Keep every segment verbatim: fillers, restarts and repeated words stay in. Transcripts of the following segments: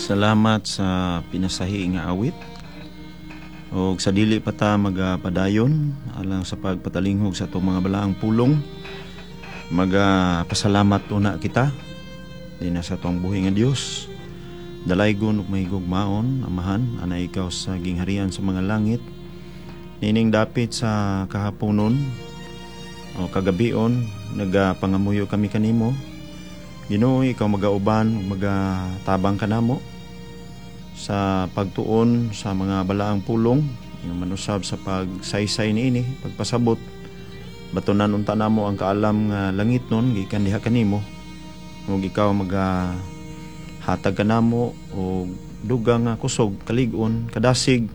Salamat sa pinasahi nga awit. Og sa dili pa ta magapadayon alang sa pagpatalinghog sa atong mga balaang pulong, magapasalamat una kita dinha sa atong buhi nga Dios. Dalaygon ug mahigugmaon, Amahan, anaa ikaw sa gingharian sa mga langit. Nining dapit sa kahaponon o kagabion, nagapangamuyo kami kanimo. Ginoo, ikaw magauban ug magatabang kanamo sa pagtuon sa mga balaang pulong, yung manusab sa pagsaysay niini, pagpasabot. Batunan unta namo ang kaalam nga langit nun gikan diha kanimo, ug ikaw maga hatag kanamo og dugang nga kusog, kalig-on, kadasig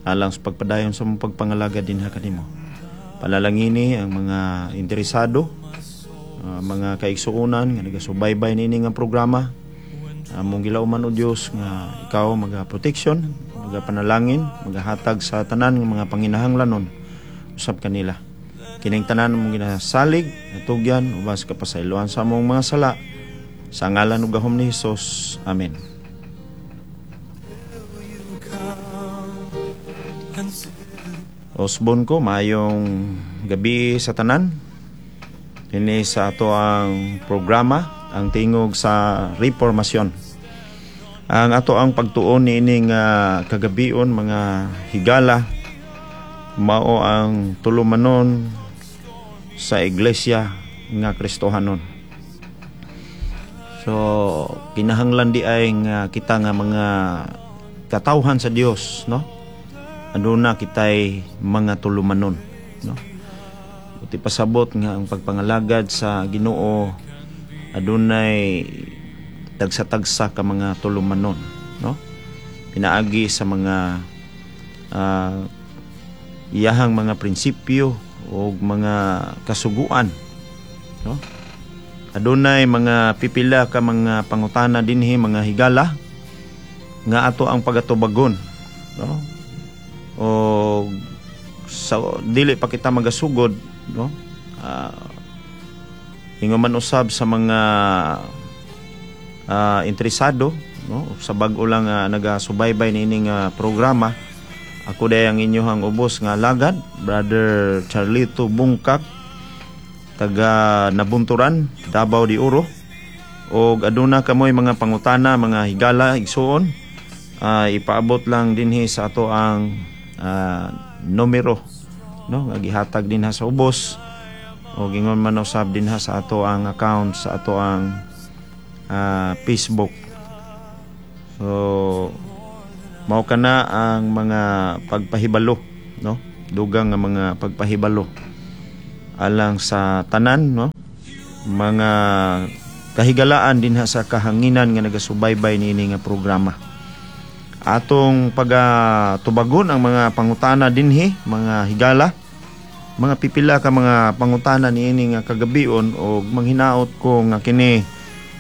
alang sa pagpadayon sa mong pagpangalagad dinha kanimo. Panalangini ang mga interesado, uh, mga kaigsuonan nga nagasubaybay niini nga programa. Among gilauman, o Dios, nga ikaw maga protection, maga panalangin, magahatag sa tanan nga mga panginahanglanon usab kanila. Kining tanan among ginasalig, natugyan uban sa kapasayloan sa among mga sala, sa ngalan ug gahom ni Hesus. Amen. Come and sit Osbon ko, maayong gabi sa tanan. Ini sa ato ang programa, Ang Tingog sa Reformasyon. Ang ato ang pagtuon niining uh, kagabion, mga higala, mao ang tulumanon sa iglesia nga Kristohanon. So kinahanglan di ay nga kita nga mga katawhan sa Dios, no? Aduna kitay mga tulumanon, no? Buot pasabot nga ang pagpangalagad sa Ginoo adunay tagsa-tagsa ka mga tulumanon, no? Pinaagi sa mga uh, iyahang mga prinsipyo o mga kasuguan, no? Adunay mga pipila ka mga pangutana dinhi, mga higala, nga ato ang pagatubagon, no? O sa dili pa kita magasugod, no, uh, ingon man usab sa mga uh, interesado, no, sa bag-o lang uh, nagasubaybay niining uh, programa, ako day ang inyohang ubos nga alagad, Brother Charlito Bungkak, taga Nabunturan, Davao de Oro. Og aduna kamoy mga pangutana, mga higala, igsuon, uh, ipaabot lang dinhi sa ato ang uh, numero, no, nga gihatag dinha sa ubos o ingon man usab dinha sa ato ang account sa ato ang uh, Facebook. So mao kana ang mga pagpahibalo, no, dugang nga mga pagpahibalo alang sa tanan, no, mga kahigalaan dinha sa kahanginan nga nagasubaybay niini nga programa. Atong pagatubagon ang mga pangutana dinhi, mga higala, mga pipila ka mga pangutana niini nga kagabion, og manghinaot ko nga kini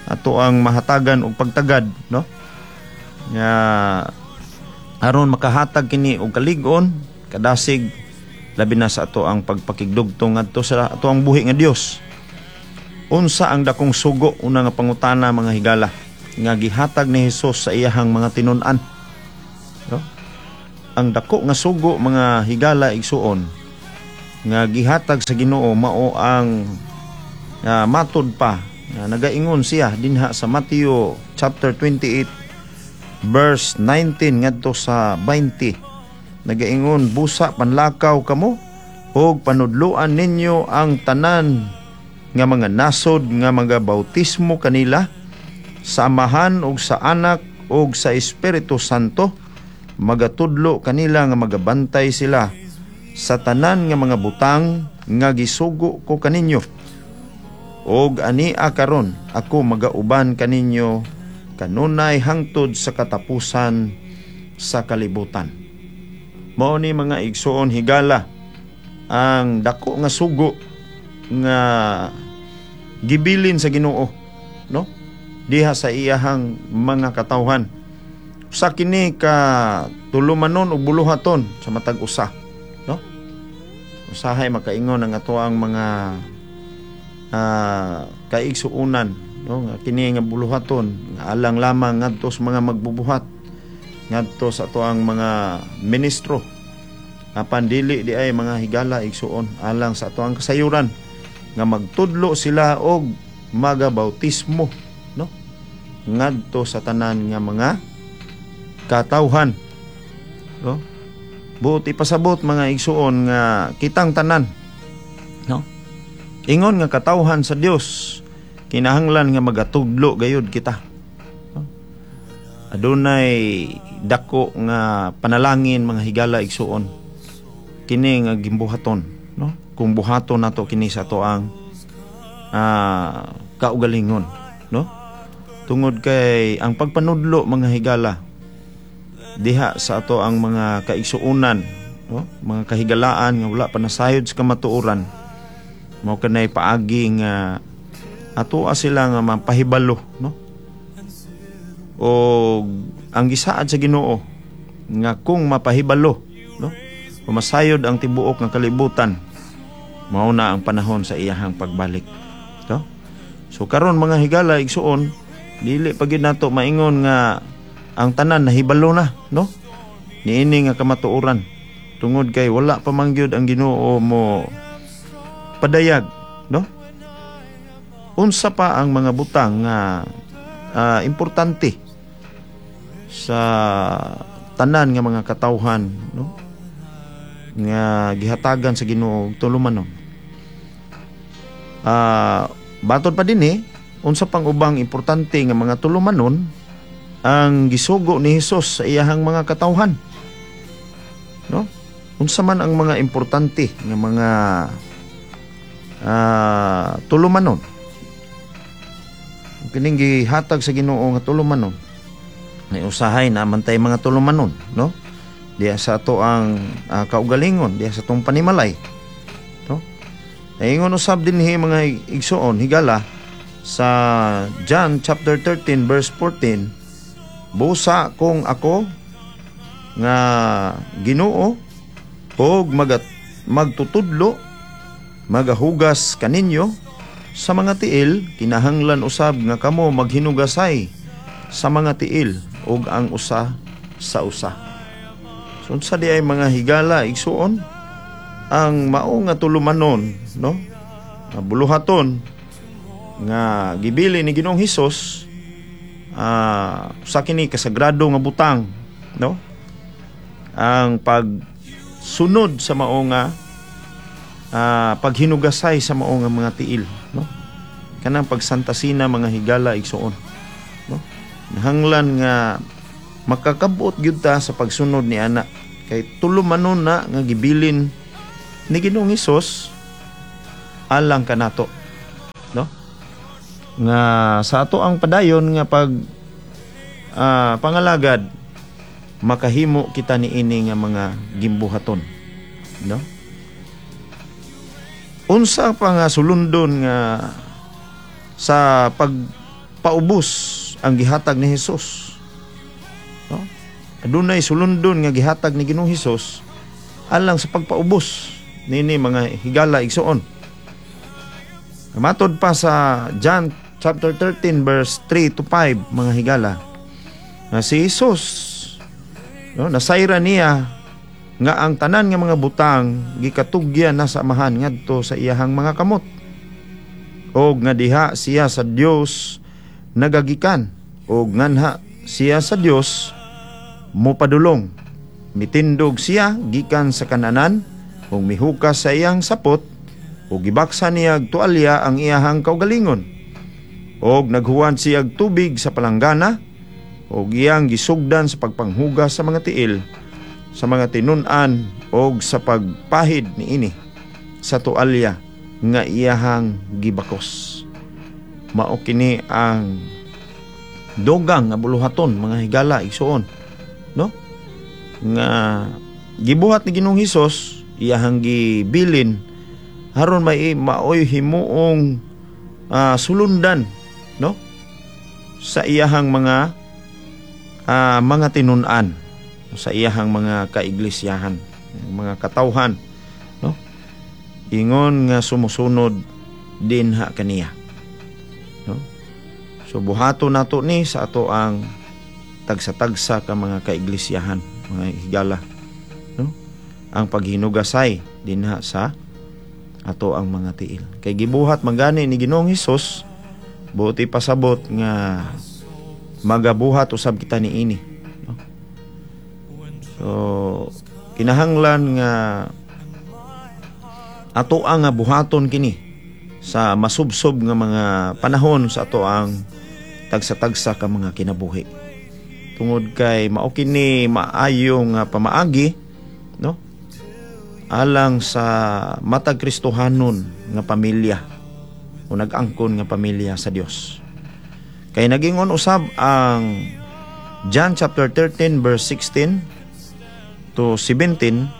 ato ang mahatagan og pagtagad, no, nga aron makahatag kini og kalig-on, kadasig, labi na sa ato ang pagpakigdugtong ngadto sa ato ang buhi nga Dios. Unsa ang dakong sugo, una nga pangutana, mga higala, nga gihatag ni Hesus sa iyahang mga tinun-an, no? Ang dako nga sugo, mga higala, igsuon, nga gihatag sa Ginoo mao ang uh, matod pa nga nagaingon siya dinha sa Matthew chapter twenty-eight verse nineteen ngadto sa twenty. Nagaingon, "Busa panlakaw kamo ug panudloan ninyo ang tanan nga mga nasod nga mga bautismo kanila sa Amahan ug sa Anak ug sa Espiritu Santo, magatudlo kanila nga magabantay sila sa tanan nga mga butang nga gisugo ko kaninyo. Og ania karon ako magauban kaninyo kanunay hangtod sa katapusan sa kalibutan." Mao ni, mga igsuon, higala, ang dako nga sugo nga gibilin sa Ginoo, no, diha sa iyahang mga katawhan. Usa kini ka tulumanon ug buluhaton sa matag usa, no? Usahay makaingon ang ato ang mga uh, kaigsuonan no, nga kini nga buluhaton nga alang lamang ngadto sa mga magbubuhat, ngadto sa atoang mga ministro. Apan dili di ay, mga higala, igsuon, alang sa atoang kasayuran nga magtudlo sila og magabautismo, no, ngadto sa tanan nga mga katawhan, no? Buot ipasabot, mga igsuon, nga kitang tanan, no, ingon nga katawhan sa Dios, kinahanglan nga magatudlo gayud kita, no? Adunay dako nga panalangin, mga higala, igsuon, kini nga gimbuhaton, no, kung buhaton nato kini sa atoang ah, kaugalingon, no, tungod kay ang pagpanudlo, mga higala, diha sa ato ang mga kaigsuonan, no, mga kahigalaan nga wala pa nasayod sa kamatuoran, mao kanay paagi nga ato sila nga mapahibalo, no, o ang gisaad sa Ginoo nga kung mapahibalo, no, masayod ang tibuok nga kalibutan, mao na ang panahon sa iyahang pagbalik, no? So karon, mga higala, igsuon, dili pa gyud nato maingon nga ang tanan nahibalo na, no, niini nga kamatuoran, tungod kay wala pa man gyud ang Ginoo mo padayag, no, unsa pa ang mga butang nga ah, importante sa tanan nga mga katawhan, no, nga gihatagan sa Ginoo og tulumanon. Ah, batod pa dinhi, unsa pang ubang importante nga mga tulumanon ang gisugo ni Hesus sa iyahang mga katawhan, no? Unsa man ang mga importante nga mga ah, tulumanon kining gihatag sa Ginoo nga tulumanon? May usahay na man tay mga tulumanon, no, diya sa ato ang ah, kaugalingon, diya sa atong panimalay, no? Ingon usab dinhi, mga igsuon, higala, sa John chapter thirteen verse fourteen, "Busa kung ako nga Ginoo og magat magtutudlo magahugas kaninyo sa mga tiil, kinahanglan usab nga kamo maghinugasay sa mga tiil ug ang usa sa usa." So unsa di ay, mga higala, igsuon, ang mao nga tulumanon, no, nga buluhaton nga gibili ni Ginoong Hesus? Ah, sa kini kasagrado nga butang, no, ang pagsunod sa mao nga ah, paghinugasay sa mao nga mga tiil, no, kanang pagsantasina, mga higala, igsuon, no? Nahanglan nga makakabot gyud ta sa pagsunod ni ana kay tulumanon na nga gibilin ni Ginoong Hesus alang kanato, no, nga sa ato ang padayon nga pag ah, pangalagad, makahimo kita niini nga mga gimbuhaton, no? Unsa pa nga sulundon nga sa pagpaubos ang gihatag ni Hesus, no? Adunay sulundon nga gihatag ni Ginoong Hesus alang sa pagpaubos nini, mga higala, igsuon. Matod pa sa John chapter thirteen verse three to five, mga higala, nga si Jesus, no, nasayra niya nga ang tanan nga mga butang gikatugyan na sa Amahan ngadto sa iyahang mga kamot og nga diha siya sa Dios nagagikan og nganha siya sa Dios mopadulong. Mitindog siya gikan sa kananan ug mihukas sa iyang sapot ug gibaksa niya og tualya ang iyahang kaugalingon og naghuwan siya og tubig sa palanggana ug iyang gisugdan sa pagpanghugas sa mga tiil sa mga tinun-an og sa pagpahid niini sa tualya nga iyahang gibakos. Mao kini ang dugang nga buluhaton, mga higala, igsuon, no, nga gibuhat ni Ginoong Hesus, iyahang gibilin aron may maoy himuong ah, sulundan, no, sa iyahang mga ah, mga tinun-an, sa iyahang mga kaiglesyahan, mga katawhan, no, ingon nga sumusunod dinha kaniya, no? So buhaton nato ni sa ato ang tagsa-tagsa ka mga kaiglisyahan, mga higala, no? Ang paghinugasay dinha sa ato ang mga tiil. Kay gibuhat man gani ni Ginoong Hesus, buot ipasabot nga magabuhat usab kita niini, no? So kinahanglan nga ato ang nga buhaton kini sa masubsob nga mga panahon sa ato ang tagsa-tagsa ka mga kinabuhi. Tungod kay mao kini maayo nga pamaagi, no, alang sa matag Kristohanon nga pamilya o nag-angkon nga pamilya sa Dios. Kay nagingon usab ang John chapter thirteen verse sixteen to seventeen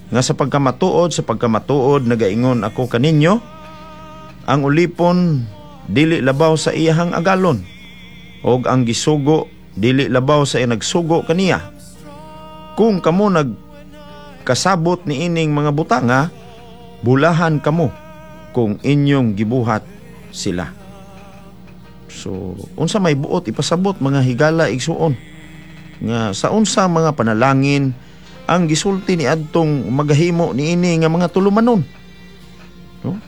nga, "Sa pagkamatuod, sa pagkamatuod, nagaingon ako kaninyo, ang ulipon dili labaw sa iyahang agalon og ang gisugo dili labaw sa iyang nagsugo kaniya. Kung kamo nagkasabot niining mga butanga, bulahan kamo kung inyong gibuhat sila." So unsa may buot ipasabot, mga higala, igsuon, nga sa unsa mga panalangin ang gisulti ni adtong magahimo niini nga mga tulumanon, no?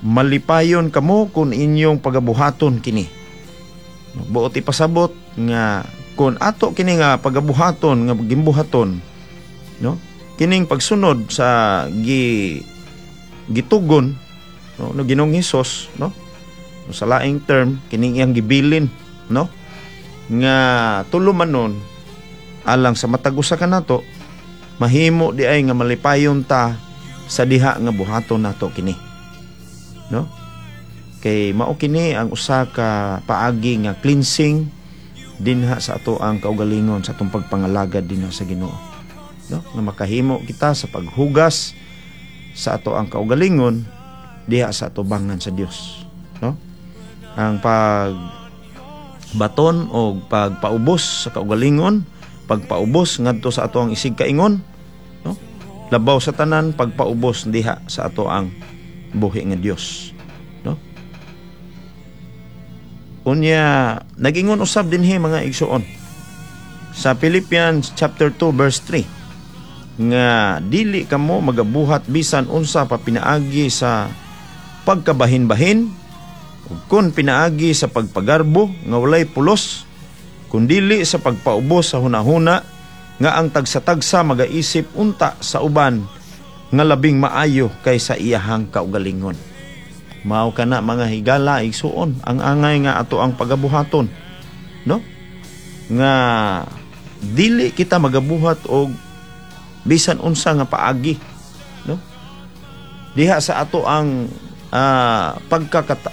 Malipayon kamo kung inyong pagabuhaton kini. Buot ipasabot nga kung ato kini nga pagabuhaton nga gimbuhaton, no, kining pagsunod sa gi gitugon, no, no Ginoong Hesus, no, sa laing term, kining iyang gibilin, no, nga tulumanon alang sa matag usa kanato, mahimo di ay nga malipayon ta sa diha nga buhaton nato kini, no? Kay mao kini ang usa ka paagi nga cleansing dinha sa ato ang kaugalingon sa atong pagpangalagad dinha sa Ginoo, no, nga makahimo kita sa paghugas sa ato ang kaugalingon diha sa atubangan sa Dios, no? Ang pag baton o pagpaubos sa kaugalingon, pagpaubos ngadto sa ato ang isig kaingon, no, labaw sa tanan, pagpaubos diha sa ato ang buhi nga Dios, no? Unya nagingon usab dinhi, mga igsuon, sa Philippians chapter two verse three nga dili kamo magabuhat bisan unsa pa pinaagi sa pagkabahin-bahin ug kun pinaagi sa pagpagarbo nga walay pulos, kundili sa pagpaubos sa hunahuna nga ang tagsa-tagsa magaisip unta sa uban nga labing maayo kaysa iyahang kaugalingon. Mao kana, mga higala, igsuon, ang angay nga ato ang pagabuhaton, no, nga dili kita magabuhat og bisan unsa nga paagi, no, diha sa ato ang uh, pagkakata